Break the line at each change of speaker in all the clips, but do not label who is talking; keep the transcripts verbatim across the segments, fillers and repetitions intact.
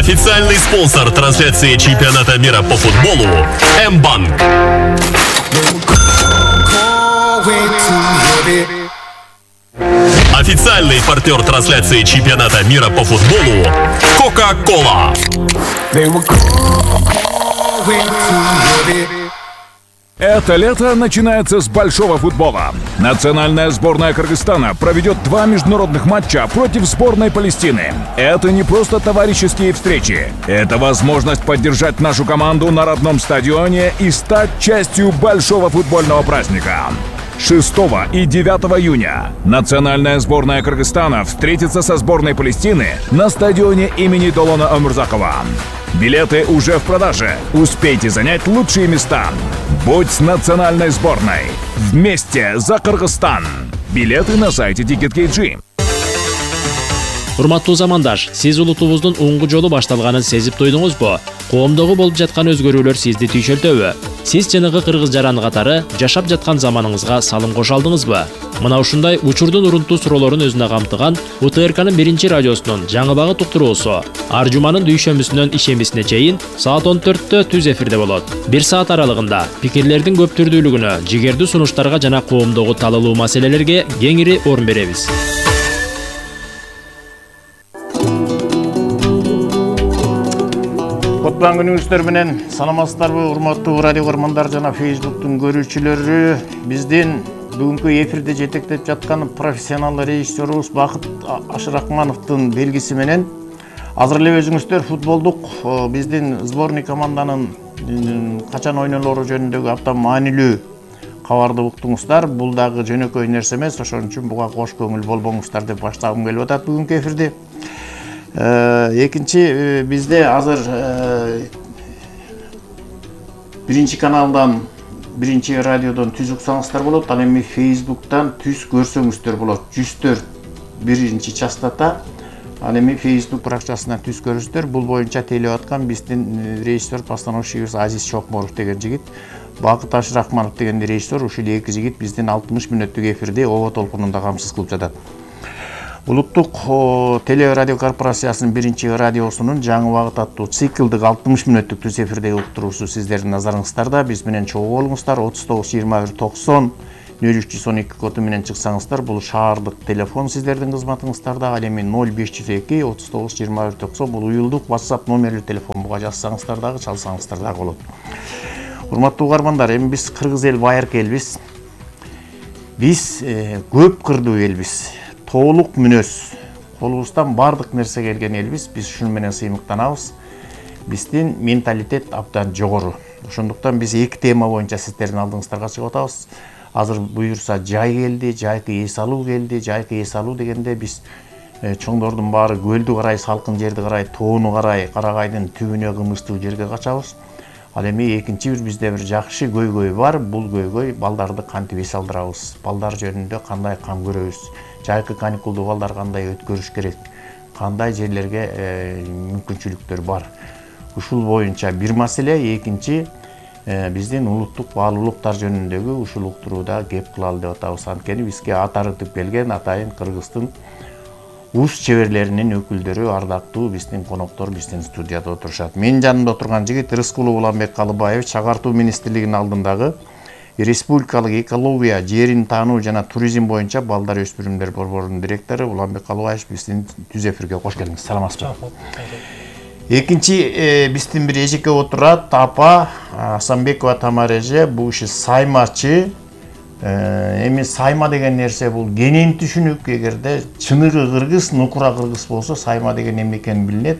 Официальный спонсор трансляции чемпионата мира по футболу М-банк. Официальный партнер трансляции чемпионата мира по футболу Кока-Кола.
Это лето начинается с большого футбола. Национальная сборная Кыргызстана проведет два международных матча против сборной Палестины. Это не просто товарищеские встречи. Это возможность поддержать нашу команду на родном стадионе и стать частью большого футбольного праздника. шестого и девятого июня национальная сборная Кыргызстана встретится со сборной Палестины на стадионе имени Долона Омурзакова. Билеты уже в продаже. Успейте занять лучшие места. Будь с национальной сборной. Вместе за Кыргызстан. Билеты на сайте Ticket.kg.
Урматтуу замандаш, сиз улутубуздун оңгу жолу башталганын сезип туйдуңузбу? Коомдогу болуп жаткан өзгөрүүлөр сизди түйшөлтөбү? Сиз жанагы кыргыз жаран катары жашап жаткан заманыңызга салым кошо алдыңызбы? Мына ушундай учурдун урунтуу суроолорун өзүнө камтыган У Т Р К'нын биринчи радиосунун жаңы багыт уктуруусу ар жуманын дүйшөмбүсүнөн ишембисине чейин саат он төрттө түз эфирде болот. Бир саат аралыгында пикирлердин көп түрдүүлүгүнө, жигердүү сунуштарга жана коомдогу талалуу маселелерге кеңири орун беребиз.
Кутман күнүңүздөр менен саламатсыздарбы, урматтуу радио көрөрмандар жана Фейсбуктун көрүүчүлөрү. Биздин бүгүнкү эфирде жетектеп жаткан профессионал режиссерубуз Бакыт Ашыракмановдун белгиси менен азыр эле өзүңүздөр футболдук биздин сборный команданын качан ойнолору жөнүндөгү абдан маанилүү кабарды уктуңуздар. Бул дагы жөнөкөй нерсе эмес, ошон үчүн буга кош көңүл болбоңуздар деп баштагым келип атат бүгүнкү эфирди. Экинчи бизде азыр биринчи каналдан, биринчи радиодон түз уксаңыздар болот, ал эми Фейсбуктан түз көрсөңүздөр болот. жүз төрт биринчи частота, ал эми Фейсбук баракчасынан түз көрүңүздөр. Бул боюнча тейлеп аткан биздин режиссер постановщигибиз Азиз Чокморов деген жигит, Бакыт Ашыракманов деген режиссер, ушул эки жигит биздин алтымыш мүнөттүк эфирди ОБО толкунунда камсыз кылып жатат. Улуттук теле радио корпорациясынын биринчи радиосунун жаңы багыт аттуу циклдык алтымыш мүнөттүк түз эфирдеги уктуруусу сиздердин назарыңыздарда. Биз менен чогуу болуңуздар. отуз тогуз жыйырма бир токсон нөл үч жүз он эки коду менен чыксаңыздар, бул шаардык телефон сиздердин кызматыңыздарда. Ал эми ноль беш жүз эки отуз тогуз жыйырма бир токсон бул уюлдук WhatsApp номерлүү телефон. Буга жазсаңыздар дагы, чалсаңыздар дагы болот. Урматтуу угармандар, эми биз кыргыз эл байыркы элбиз. Биз көп кырдуу элбиз. Толук мүнөз, колубуздан бардык нерсе келген элбиз. Биз ушун менен сыймыктанабыз. Биздин менталитет абдан жогору. Ошондуктан биз эки тема боюнча сиздердин алдыңыздарга чыгып атабыз. Азыр буюрса жай келди, жайкы эс алуу келди. Жайкы эс алуу дегенде биз чоңдордун баары көлдү карай, салкын жерди карай, тоону карай, Карагайдын түбүнө кымычтуу жерге качабыз. Ал эми экинчи бир бизде бир жакшы көйгөй бар. Бул көйгөй балдарды кантип эс алдырабыз, балдар жөнүндө кандай кам көрөбүз, жайкы каникулду балдар кандай өткөрүш керек, кандай жерлерге мүмкүнчүлүктөр бар. Ушул боюнча бир маселе. Экинчи, биздин улуттук баалуулуктар жөнүндөгү ушул уктурууда кеп кылалы деп атабыз. Анткени бизге ат арытып келген атайын Кыргыздын уз чеберлеринин өкүлдөрү, ардактуу биздин коноктор биздин студияда отурушат. Менин жанымда отурган жигит Рыскулов Уланбек Калыбаевич, Чагартуу министрлигинин алдындагы Республикалык экология, жерин таануу жана туризм боюнча балдар өспүрүмдөр борборунун директору Уланбек Калыбаевич биздин түз эфирге кош келиңиз. Саламатсызбы? Экинчи биздин бир эжеке отурат, апа Асанбекова Тамара эже, бул иши саймачы. Эми сайма деген нерсе бул кенен түшүнүк. Эгерде чыныгы кыргыз, нукура кыргыз болсо сайма деген эмне экени билинет.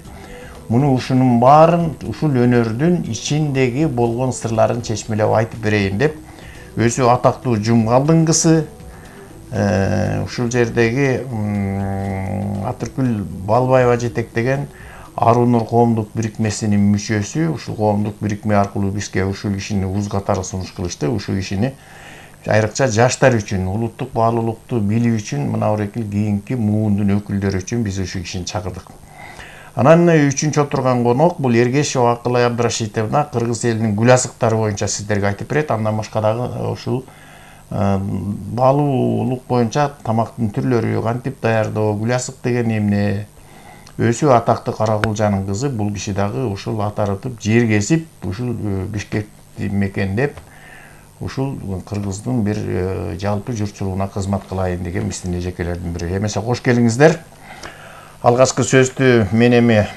Муну ушунун баарын ушул өнөрдүн ичиндеги болгон сырларын чечмелеп айтып берейин деп өзү атактуу Жумгалдын кызы, ушул жердеги Атыркүл Балбаева жетектеген Арунур коомдук бирикмесинин мүчөсү. Ушул коомдук бирикме аркылуу бизге ушул кишини уз катары сунуш кылышты. Ушул кишини айрыкча жаштар үчүн, улуттук баалуулукту билүү үчүн, мына орекил кийинки муундун өкүлдөрү үчүн биз ушул кишини чакырдык. Анан үчүнчү отурган конок бул Эргешева Акылай Абдрашитовна, кыргыз элинин гүл азыктары боюнча сиздерге айтып берет. Андан башка дагы ушул баалуулук боюнча тамактын түрлөрү, кантип даярдоо, гүл азык деген эмне, Өсү атактуу Каракулжанын кызы, бул киши дагы ушул ат арытып, жер кесип, ушул Бишкекти мекендеп, ушул кыргыздын бир жалпы журтчулугуна кызмат кылайын деген мисине жекелердин бири. Эмесе кош келиңиздер. Алгачкы сөздү мен эми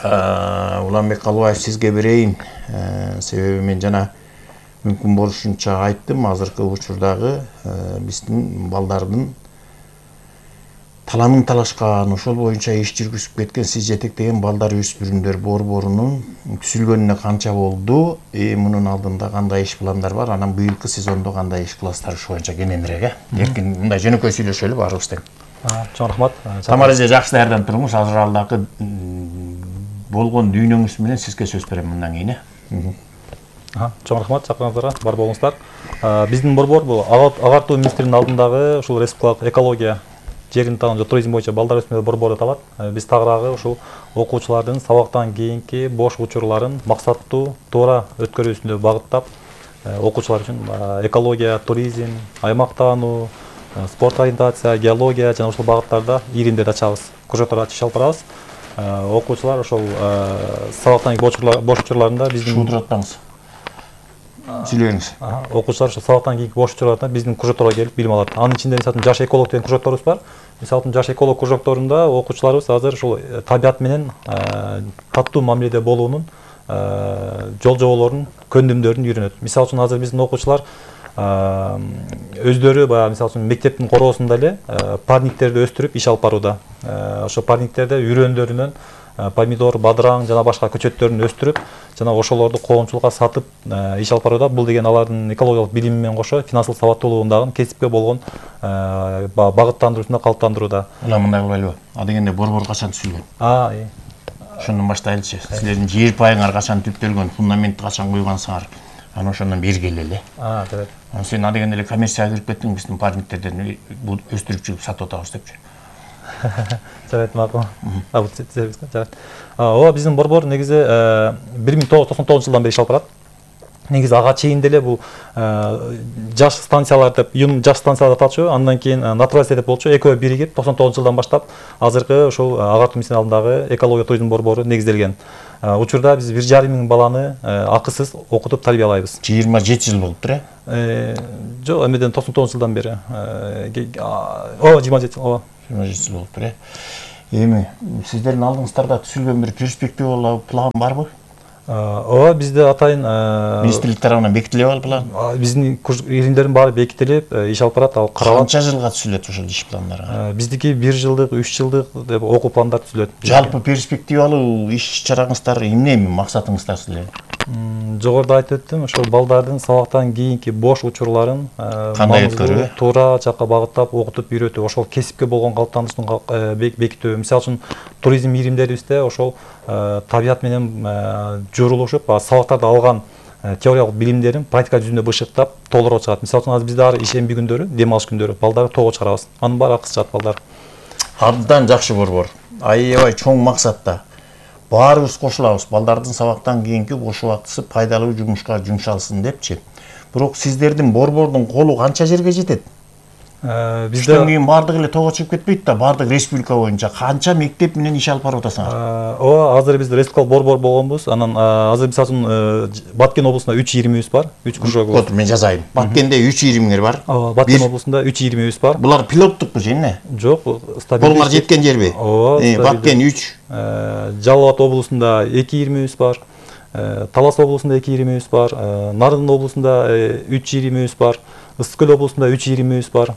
Уланбек Калыбаев сизге берейин. Себеби мен жана мүмкүн болушунча айттым, азыркы учурдагы биздин балдардын таламын талашкан, ошол боюнча иш жүргүзүп кеткен, сиз жетектеген балдар өспүрүмдөр борборунун түзүлгөнүнө канча болду? И мунун алдында кандай иш пландар бар? Анан быйылкы сезондо кандай иш кыласыздар ушу боюнча кененирээк, э? Эркин мындай жөнөкөй сүйлөшөлү баарыбыз тең.
Чоң рахмат.
Тамара эже жакшы даярданып туруңуз. Азыр алдагы болгон дүйнөңүз менен сизге сөз берем мындан кийин, э?
Чоң рахмат чакыргандыгыңызга, бар болуңуздар. Биздин борбор бул агартуу министринин алдындагы ушул республикалык экология, жерин таануу, туризм боюнча балдар өсмөөр борбору аталат. Биз тагыраагы ушул окуучулардын сабактан кийинки бош учурларын максаттуу, туура өткөрүүсүнө багыттап, окуучулар үчүн экология, туризм, аймактануу, спорт ориентация, геология жана ушул багыттарда иримдерди ачабыз, кружоктор ачып алып барабыз. Окуучулар ошол сабактан кийинки бош учурларында биздин
шуудуратпаңыз. Сүйлөңүз.
Окуучулар ошо сабактан кийинки бош учурларда биздин кружокторго келип билим алат. Анын ичинде мисалы жаш эколог деген кружокторубуз бар. Мисалы жаш эколог кружокторунда окуучуларыбыз азыр ушул табият менен катуу мамиледе болуунун жол жоболорун, көндүмдөрүн үйрөнөт. Мисалы үчүн азыр биздин окуучулар өздөрү баягы мисалы үчүн мектептин короосунда эле парниктерди өстүрүп иш алып барууда. Ошо парниктерде үрөндөрүнөн помидор, бадыраң жана башка көчөттөрүн өстүрүп, жана ошолорду коомчулукка сатып иш алып барууда. Бул деген алардын экологиялык билими менен кошо финансылык сабаттуулугун дагы кесипке болгон багыттандыруусунда калыптандырууда.
Ула мындай кылбайлыбы? А дегенде борбор качан түзүлгөн?
А, ий.
Ошондон баштайлычы. Силердин жер пайыңар качан түптөлгөн, фундаментти качан койгансыңар? Анан ошондон бери келели.
А, жарайт.
Сен а дегенде эле коммерцияга кирип кеттиң, биздин парниктерден өстүрүп жүрүп сатып атабыз депчи.
Жарайт, макул. А, бул жарайт. Ооба биздин борбор негизи бир миң тогуз жүз токсон тогузунчу жылдан бери иш алып барат. Негизи ага чейин деле бул жаш станциялар деп, юн жаш станциялар аталчу, андан кийин натуралистер деп болчу, экөө биригип токсон тогузунчу жылдан баштап азыркы ошол агартуу министринин алдындагы экология туризм борбору негизделген. Учурда биз бир жарым миң баланы акысыз окутуп тарбиялайбыз.
жыйырма жети жыл болуптур,
э? Жок, эмеден токсон тогузунчу жылдан бери. Ооба, жыйырма жети жыл, ооба.
жыйырма жети жыл болуптур, э? Эми сиздердин алдыңыздарда түзүлгөн бир перспективалуу план барбы?
Ооба, бизде атайын
министрлик тарабынан бекитилип ал план.
Биздин иримдердин баары бекитилип, иш алып барат, ал каралат.
Канча жылга түзүлөт ошол иш пландары?
Биздики бир жылдык, үч жылдык деп окуу пландар түзүлөт.
Жалпы перспективалуу иш чараңыздар эмне, максатыңыздар силердин?
Жогоруда айтып өттүм, ошол балдардын сабактан кийинки бош учурларын
кандай өткөрүү,
туура жакка багыттап, окутуп үйрөтүү, ошол кесипке болгон калыптануусун бекитүү. Мисалы үчүн туризм иримдерибизде ошол табият менен журулушуп, сабактарда алган теориялык билимдерин практика жүзүндө бышыктап, толтуруп чыгат. Мисалы үчүн азыр бизде ар ишемби күндөрү, дем алыш күндөрү балдарды тоого чыгарабыз. Анын баары акысыз чыгат балдар.
Абдан жакшы борбор. Аябай чоң максатта. Баарыбыз кошулабыз, балдардын сабактан кийинки бош убактысы пайдалуу жумушка жумшалсын депчи. Бирок сиздердин борбордун колу канча жерге жетет? Bizde kийин бардык эле тоого чыгып кетпейт да, бардык республика боюнча канча мектеп менен иш алып барып атасыңар?
Ооба, азыр биз республикалык борбор болгонбуз. Анан азыр мисалы үчүн Баткен облусунда үч иримибиз бар, үч кружогубуз.
Вот мен жазайын. Баткенде үч иримиңер бар.
Ооба, Баткен облусунда үч иримибиз бар.
Булар пилоттукпу же эмне?
Жок, стабилдүү.
Булар жеткен жерби?
Ооба,
Баткен үч.
Жалал Абад облусунда эки иримибиз бар. Талас облусунда эки иримибиз бар. Нарын облусунда үч иримибиз бар. Ысык көл облусунда үч иримибиз бар.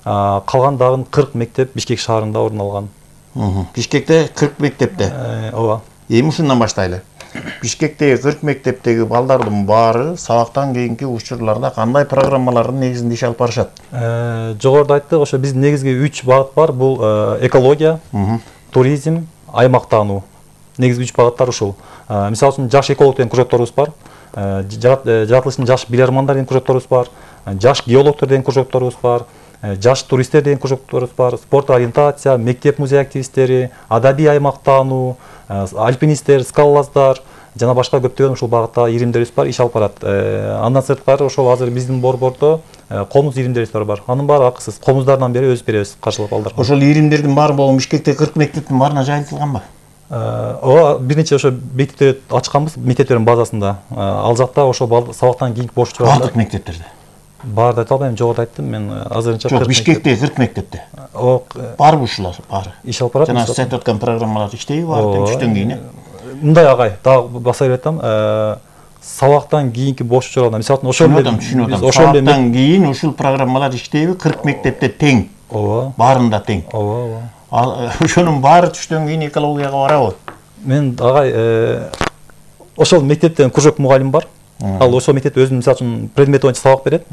Калган дагы кырк мектеп Бишкек шаарында орун алган.
Бишкекте кырк мектепте.
Ооба.
Эми ушундан баштайлы. Бишкектеги кырк мектептеги балдардын баары сабактан кийинки учурларда кандай программалардын негизинде иш алып барышат?
Жогоруда айттык, ошо биздин негизги үч багыт бар. Бул экология, туризм, аймактануу. Негизги үч багыттар ушул. Мисалы үчүн жаш эколог деген кружокторубуз бар. Жаратылыштын жаш билармандар деген кружокторубуз бар. Жаш геологтор деген кружокторубуз бар. Жаш туристтер деген кружокторубуз бар. Спорт ориентация, мектеп музей активисттери, адабий аймактануу, альпинисттер, скалолаздар жана башка көптөгөн ушул багытта иримдерибиз бар, иш алып барат. Андан сырткары ошол азыр биздин борбордо комуз иримдерибиз бар. Анын баары акысыз. Комуздардан бери өзүп беребиз, каржылап балдарга.
Ошол иримдердин баары могу Бишкектеги кырк мектептин баарына жайылтылганбы?
Ооба, бир нече ошо мектептерди ачканбыз, мектептердин базасында. Ал жакта ошо сабактан кийинки бош учурларда.
Бардык мектептерде.
Барды айта албайм, жогоруда айттым. Мен азырынча
Жок, Бишкектеги кырк мектепте. Барбы ушулар баары?
Иш алып барат.
Жана сиз айтып аткан программалар иштейби баары түштөн кийин?
Мындай агай, дагы баса берип атам. Сабактан кийинки бош учурларда, мисалы ошол
эле сабактан кийин ушул программалар иштейби? кырк мектепте тең.
Ооба.
Баарында тең.
Ооба, ооба.
Ал ошонун баары түштөн кийин экологияга барабы?
Мен агай ошол мектептен кружок мугалим бар. Ал ошол мектепте өзүнүн мисалы үчүн предмет боюнча сабак берет.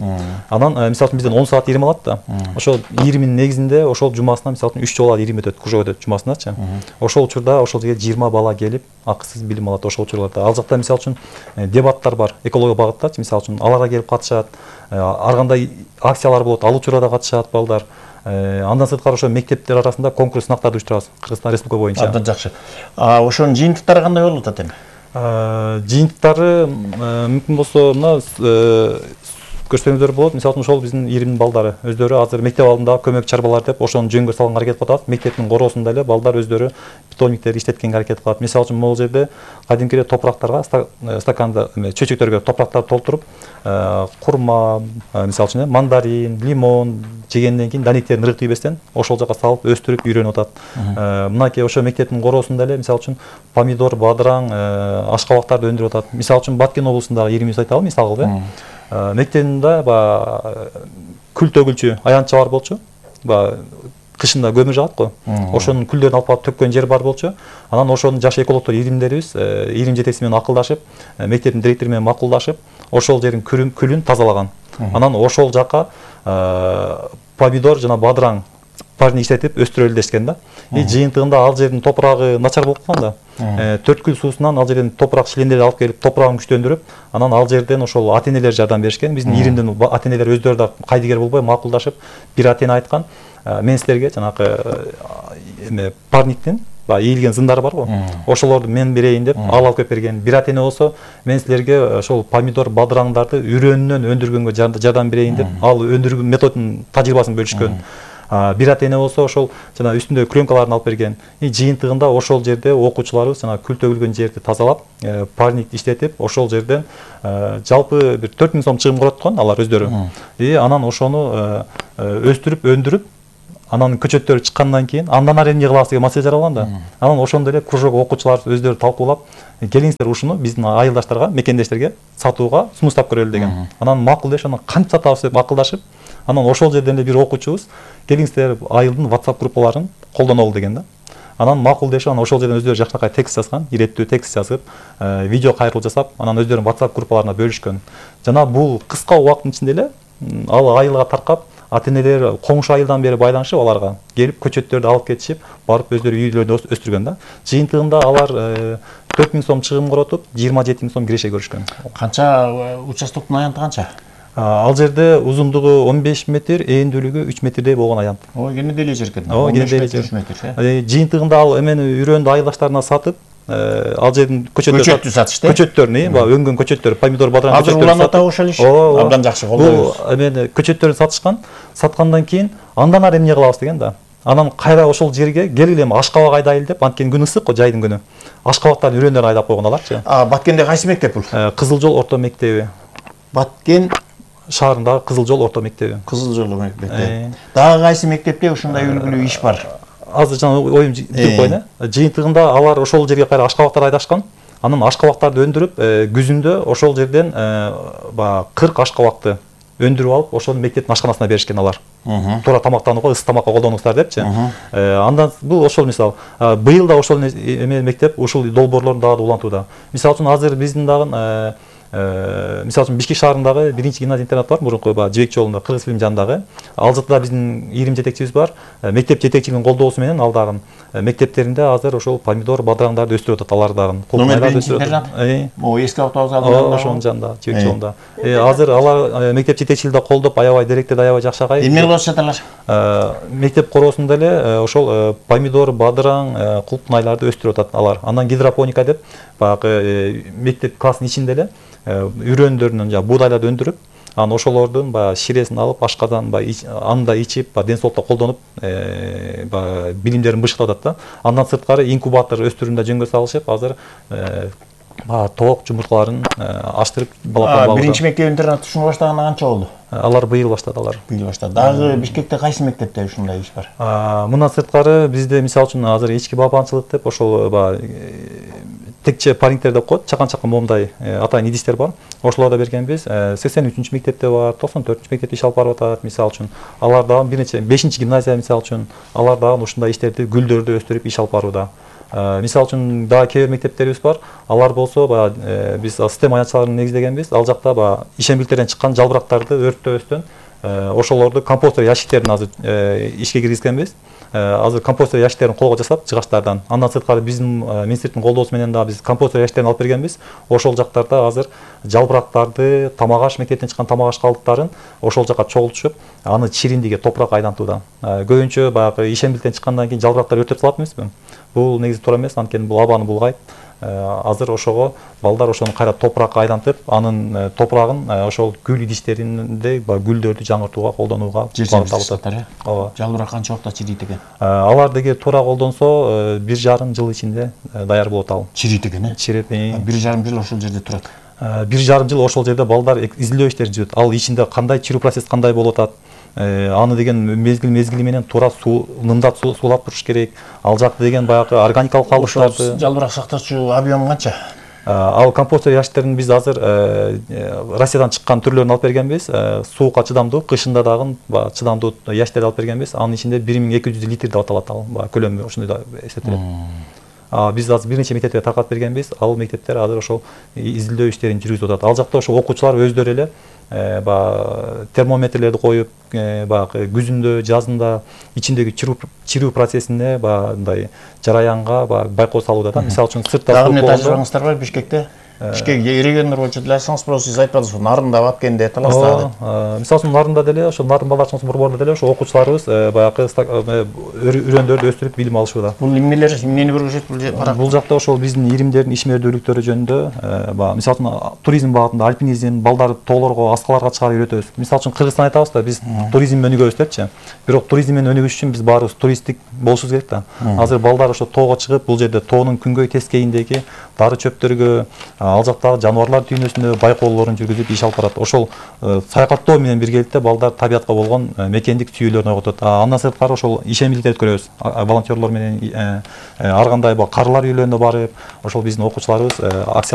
Анан мисалы үчүн бизден он саат ирим алат да. Ошол иримдин негизинде ошол жумасына мисалы үчүн үч жолу ирим өтөт, кружок өтөт жумасыначы. Ошол учурда ошол жерге жыйырма бала келип, акысыз билим алат ошол учурларда. Ал жакта мисалы үчүн дебаттар бар, экология багыттачы, мисалы үчүн аларга келип катышат. Ар кандай акциялар болот, ал учурда катышат балдар. Андан сырткары ошо мектептер арасында конкурс сынактарды уюштурабыз Кыргызстан Республика боюнча.
Абдан жакшы. А ошонун жыйынтыктары кандай болуп атат эми?
Жыйынтыктары мүмкүн болсо мына көрсөңүздөр болот. Мисалы үчүн ошол биздин иримдин балдары өздөрү азыр мектеп алдында көмөк чарбалар деп ошону жөнгө салганга аракет кылып атат. Мектептин короосунда эле балдар өздөрү питомниктерди иштеткенге аракет кылат. Мисалы үчүн могул жерде кадимки эле топурактарга стаканда чөйчөктөргө топурактарды толтуруп, курма, мисалы үчүн мандарин, лимон жегенден кийин данектерин ырык тийбестен ошол жака салып өстүрүп үйрөнүп атат. Мынакей ошо мектептин короосунда эле мисалы үчүн помидор, бадыраң, ашкабактарды өндүрүп атат. Мисалы үчүн Баткен облусундагы иримибизди айталы, мисалы кылып, э. Мектебинде баягы күл төгүлчү аянтча бар болчу. Баягы кышында көмүр жагат го. Ошонун күлдөрүн алып барып төккөн жер бар болчу. Анан ошонун жаш экологдор иримдерибиз ирим жетекчиси менен акылдашып, мектептин директору менен макулдашып, ошол жердин күлүн тазалаган. Анан ошол жака помидор жана бадыраң парни иштетип өстүрөлү дешкен да. И жыйынтыгында ал жердин топурагы начар болуп калган да. Төрт күл суусунан ал жерден топурак шилендерди алып келип, топурагын күчтөндүрүп, анан ал жерден ошол ата-энелер жардам беришкен. Биздин иримдин ата-энелер өздөрү да кайдыгер болбой макулдашып, бир ата-эне айткан, мен силерге жанагы эме парниктин баягы ийилген зындары бар го. Ошолорду мен берейин деп ал алып келип берген. Бир ата-эне болсо, мен силерге ошол помидор, бадыраңдарды үрөөнүнөн өндүргөнгө жардам берейин деп ал өндүрүү методунун тажрыйбасын бөлүшкөн. Бир ата-эне болсо ошол жана үстүндө клёнкаларын алып берген. И жыйынтыгында ошол жерде окуучуларыбыз жана күл төгүлгөн жерди тазалап, парник иштетип, ошол жерден жалпы бир төрт миң сом чыгым көрөткөн алар өздөрү. И анан ошону өстүрүп, өндүрүп, анан көчөттөрү чыккандан кийин андан ары эмне кылабыз деген маселе жаралган да. Анан ошондой эле кружок окуучулар өздөрү талкуулап, келиңиздер ушуну биздин айылдаштарга, мекендештерге сатууга сунуштап көрөлү деген. Анан макул дешип, анан кантип сатабыз деп акылдашып, анан ошол жерден эле бир окуучубуз келиңиздер айылдын WhatsApp группаларын колдонолу деген да. Анан макул дешип, анан ошол жерден өздөрү жакшынакай текст жазган, иреттүү текст жазып, видео кайрылуу жасап, анан өздөрүнүн WhatsApp группаларына бөлүшкөн. Жана бул кыска убакыттын ичинде эле ал айылга таркап, ата-энелер коңшу айылдан бери байланышып аларга келип көчөттөрдү алып кетишип, барып өздөрү үйлөрүндө өстүргөн да. Жыйынтыгында алар төрт миң сом чыгым коротуп, жыйырма жети миң сом киреше көрүшкөн.
Канча участоктун аянты канча?
Ал жерде узундугу он беш метр, ээндүүлүгү үч метрдей болгон аянт.
Ой, кенеде эле жер экен.
Ооба, кенеде эле жер. Жыйынтыгында ал эмени үйрөндү айылдаштарына сатып, ал жердин
көчөттү сатышты.
Көчөттөрүн, баягы өңгөн көчөттөр, помидор, бадыраң
көчөттөрү. Азыр уланып атабы ошол иш? Абдан жакшы колдойбуз.
Бул эмени көчөттөрүн сатышкан, саткандан кийин андан ары эмне кылабыз деген да. Анан кайра ошол жерге келгиле эми ашкабак айдайлы деп, анткени күн ысык го, жайдын күнү. Ашкабактардын үрөндөрүн айдап койгон аларчы.
А, Баткенде кайсы мектеп бул?
Кызыл жол орто мектеби.
Баткен
шаарындагы Кызыл жол орто мектеби.
Кызыл жол мектеби. Дагы кайсы мектепте ушундай үлгүлүү иш бар?
Азыр жана оюм жүрүп койду. Жыйынтыгында алар ошол жерге кайра ашкабактар айдашкан. Анан ашкабактарды өндүрүп, күзүндө ошол жерден баягы кырк ашкабакты өндүрүп алып, ошол мектептин ашканасына беришкен алар. Туура тамактанууга, ысык тамакка колдонуңуздар депчи. Андан бул ошол мисал. Быйыл да ошол эме мектеп ушул долбоорлорун дагы улантууда. Мисалы үчүн азыр биздин дагы мисалы үчүн Бишкек шаарындагы биринчи гимназия интернат бар, мурунку Жибек жолунда, Кыргыз фильм жанындагы. Ал жерде биздин ирим жетекчибиз бар. Мектеп жетекчилигинин колдоосу менен ал дагы мектептеринде азыр ошол помидор, бадыраңдарды өстүрүп атат, алар дагы.
Номер биринчи интернат. Могу эски автобус алдында.
Ошонун жанында, Жибек жолунда. Азыр алар мектеп жетекчилиги колдоп, аябай директор аябай жакшы агай.
Эмне кылып жаталар?
Мектеп короосунда эле ошол помидор, бадыраң, кулпунайларды өстүрүп атат алар. Андан гидропоника деп, баягы мектеп класстын ичинде эле үрөндөрүнөн жана буудайларды өндүрүп, анан ошолордун баягы ширесин алып ашказан баягы анда ичип ден соолукта колдонуп баягы билимдерин бышыктап атат да. Андан сырткары инкубатор өстүрүүндө жөнгө салышып азыр тоок жумурткаларын аштырып балапан багуу.
Биринчи мектеп интернат ушуну баштаганына канча болду?
Алар быйыл баштады алар.
Быйыл баштады. Дагы Бишкекте кайсы мектепте ушундай иш бар?
Мындан сырткары бизде мисалы үчүн азыр ички балапанчылык деп ошол баягы текче парингтер деп коет, чакан-чакан момундай атайын идиштер бар. Ошолорду бергенбиз. сексен үчүнчү мектепте бар, токсон төртүнчү мектепте иш алып барып атат мисалы үчүн. Алар дагы бир нече бешинчи гимназия мисалы үчүн алар дагы ушундай иштерди гүлдөрдү өстүрүп иш алып барууда. Мисалы үчүн дагы кээ бир мектептерибиз бар. Алар болсо баягы биз система аянтчыларын негиздегенбиз. Ал жакта баягы ишембиликтерден чыккан жалбырактарды өрттөбөстөн ошолорду компостер ящиктерин азыр ишке киргизгенбиз. Азыр компостер ящиктерин колго жасап жыгачтардан. Андан сырткары биздин министрликтин колдоосу менен да биз компостер ящиктерин алып бергенбиз. Ошол жактарда азыр жалбырактарды, тамак аш мектептен чыккан тамак аш калдыктарын ошол жака чогултушуп, аны чириндиге топурак айлантууда. Көбүнчө баягы ишембиликтен чыккандан кийин жалбырактар өртөп калат эмеспи? Бул негизи туура эмес, анткени бул абаны булгайт. Азыр ошого балдар ошону кайра топуракка айлантып, анын топурагын ошол гүл идиштеринде гүлдөрдү жаңыртууга колдонууга багытталып атат. Ооба.
Жалбырак канча убакытта чирийт экен?
Алар деги туура колдонсо бир жарым жыл ичинде даяр болот ал.
Чирийт экен, э?
Чирет.
бир жарым жыл ошол жерде турат.
бир жарым жыл ошол жерде балдар изилдөө иштерин жүрөт. Ал ичинде кандай чирүү процесс кандай болуп атат? Аны деген мезгил мезгили менен туура суу нымдап суулап туруш керек. Ал жакта деген баягы органикалык калдыктарды.
Жалбырак сактоочу объем канча?
Ал компостер ящиктерин биз азыр Россиядан чыккан түрлөрүн алып бергенбиз. Суукка чыдамдуу, кышында дагы чыдамдуу ящиктерди алып бергенбиз. Анын ичинде бир миң эки жүз литр деп аталат ал. Көлөмү ошондой да эсептелет. Биз азыр бир нече мектептерге таркатып бергенбиз. Ал мектептер азыр ошол изилдөө иштерин жүргүзүп атат. Ал жакта ошол окуучулар өздөрү эле баягы термометрлерди коюп, баягы күзүндө, жазында ичиндеги чирүү процессине баягындай жараянга баягы байкоо салууда да. Мисалы үчүн сыртта
дагы эмне тажрыйбаңыздар бар Бишкекте? Бишкек региондор боюнча деле айтсаңыз, просто сиз айтпадыңыз, Нарында, Баткенде таласта деп.
Мисалы үчүн Нарында деле, ошо Нарын балдар чоң борборунда деле ошо окуучуларыбыз баягы үрөндөрдү өстүрүп билим алышууда.
Бул эмнелер, эмнени көргөзөт бул парак?
Бул жакта ошол биздин иримдердин ишмердүүлүктөрү жөнүндө, баягы мисалы үчүн туризм багытында альпинизм, балдарды тоолорго, аскаларга чыгарып үйрөтөбүз. Мисалы үчүн Кыргызстан айтабыз да, биз туризм менен өнүгөбүз депчи. Бирок туризм менен өнүгүш үчүн биз баарыбыз туристтик болушубуз керек да. Азыр балдар ошо тоого чыгып, бул жерде тоонун күнгөй тескейиндеги дары чөптөргө, ал жактагы жаныбарлар дүйнөсүндө байкоолорун жүргүзүп иш алып барат. Ошол саякаттоо менен биргеликте балдар табиятка болгон мекендик сүйүүлөрүн ойготот. Андан сырткары ошол ишембиликтерди өткөрөбүз. Волонтерлор менен ар кандай карылар үйлөрүнө барып, ошол биздин окуучуларыбыз акция